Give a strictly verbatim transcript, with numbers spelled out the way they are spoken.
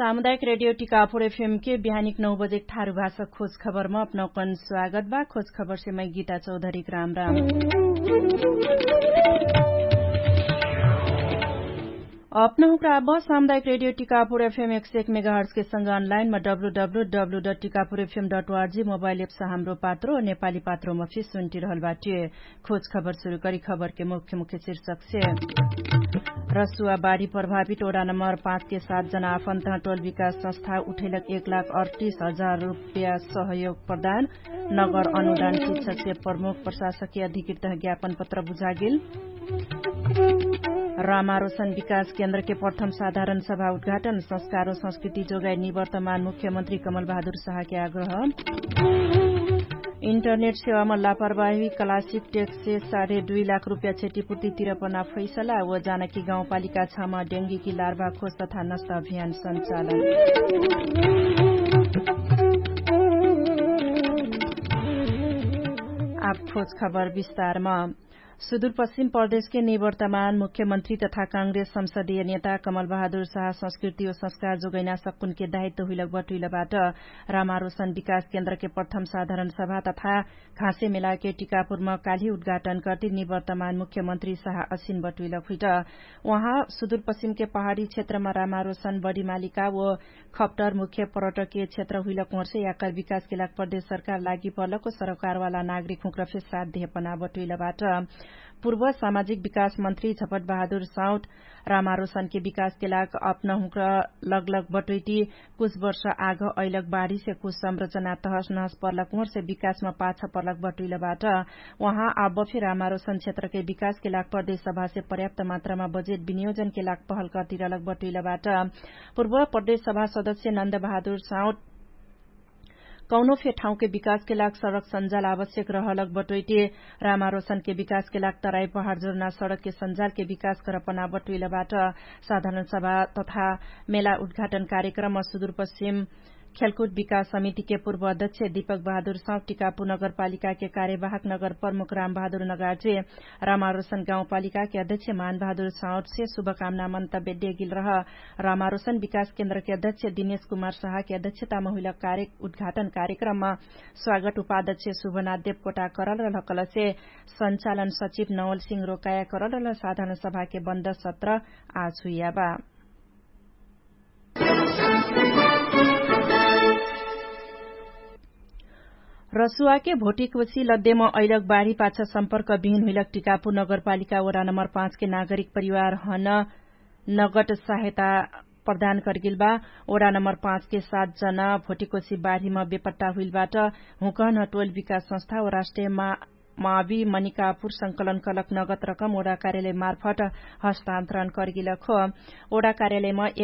सामुदायिक रेडियो टिकापुर एफएम के बिहानिक नौ बजेक थारु भाषा खोज खबरमा अपनौकन स्वागत बा। खोज खबरसे मै गीता चौधरीक राम राम। अपनहुँक्रा अब सामुदायिक रेडियो टिकापुर एफएम एक सय एक मेगाहर्सके संग अनलाइनमा W W W dot Tikapur FM dot ORG mobile apps हाम्रो पात्रो नेपाली पात्रोमा फिस सुन्टिरहल बाट्यो। खोज खबर सुरु करी खबरके मुख्य मुख्य शीर्षकसे। रसुवा बाढी प्रभावित ओडा नम्बर पाँचके सात जना आफन्त टोल विकास संस्था उठैलक एक लाख अडतिस हजार रुप्या सहयोग प्रदान। नगर अनुदान शिक्षकसे प्रमुख प्रशासकीय अधिकृत ज्ञापन पत्र बुझागेल। रामारोसन विकास केन्द्रके प्रथम साधारण सभा उद्घाटन संस्कारो संस्कृति जोगाइ निवर्तमान मुख्यमन्त्री कमल बहादुर साहके आग्रह। इन्टरनेट सेवामा लापरवाही क्लासिक टेक्ससे साढे दुई लाख रुप्या क्षतिपूर्ति तिरपना फैसला व जानकी गाउँपालिका छमा डेङ्गीकी लार्भा खोज तथा नष्ट अभियान सञ्चालन। आब खोज खबर विस्तारमा। सुदूरपश्चिम प्रदेशके निवर्तमान मुख्यमन्त्री तथा काङ्ग्रेस संसदीय नेता कमल बहादुर साह संस्कृति व संस्कार जोगैना सक्कुनके दायित्व हुइलक बटुइलबाट रामारोसन विकास केन्द्रके प्रथम साधारण सभा तथा घाँसे मेलाके टिकापुरमा काल्हि उद्घाटन कर्ति निवर्तमान मुख्यमन्त्री साह असिन बटुइलक हुइट। उहाँ सुदूरपश्चिमके पहाडी क्षेत्रमा रामारोसन बडिमालिका व खप्टर मुख्य पर्यटकीय क्षेत्र हुइलक होर्से याकर विकासके लाग प्रदेश सरकार लागि पर्लको सरोकारवाला नागरिक हुँक्र फेर साथ देहपना बटुइलबाट। पूर्व सामाजिक विकास मन्त्री झपट बहादुर साउट रामारोसनके विकासके लाग अपना हुँक्र लगलग बटुइटी कुछ वर्ष आग अइलक बाढीसे कुछ संरचना तहस नहस पर्लक होर्से विकासमा पाछ पर्लक बटुइलबाट। उहाँ आब फेर रामारोसन क्षेत्रके विकासके लाग प्रदेश सभासे पर्याप्त मात्रामा बजेट विनियोजनके लाग पहल कर्तिरलक बटुइलबाट। पूर्व प्रदेश सभा सदस्य नन्द बहादुर साउट कौनो फे ठाउँके विकासके लाग सडक सञ्जाल आवश्यक रहलक बटोइटे रामारोसनके विकासके लाग तराई पहाड जोर्ना सडकके सञ्जालके विकास करपना बटोइलबाट। साधारण सभा तथा मेला उद्घाटन कार्यक्रम सुदूरपश्चिम खेलकुट विकास समितिके पूर्व अध्यक्ष दिपक बहादुर साउट टिकापु नगरपालिकाके कार्यवाहक नगर प्रमुख राम बहादुर नगार्जे रामारोसन गाउँपालिकाके अध्यक्ष मान बहादुर साउटसे शुभकामना मन्तव्य देगिल रह। रामारोसन विकास केन्द्रके अध्यक्ष दिनेश कुमार साहके अध्यक्षतामा हुइलक कार्य उद्घाटन कार्यक्रममा स्वागत उपाध्यक्ष शुभनाथ देवकोटा करल रहल कलसे सञ्चालन सचिव नवल सिंह रोकाया करल रहल साधारण सभाके बन्द सत्र आज हुइयाबा। रसुवाके भोटिकवसी लद्देम अइलक बाढी पाछ सम्पर्क बिहिन हुइलक टिकापु नगरपालिका वडा नम्बर पाँचके नागरिक परिवार हन नगट सहायता प्रदान करगेल बा। ओडा नम्बर पाँचके सात जना भोटिकवसी बाढीम बेपट्टा हुइल बाट। हुँकहन टोल विकास संस्था व राष्ट्रिय मावी मनिकापुर संकलन कलक नगत रकम ओडा कार्यालय मार्फट हस्तान्तरण करगेलक हो। ओडा कार्यालयम एक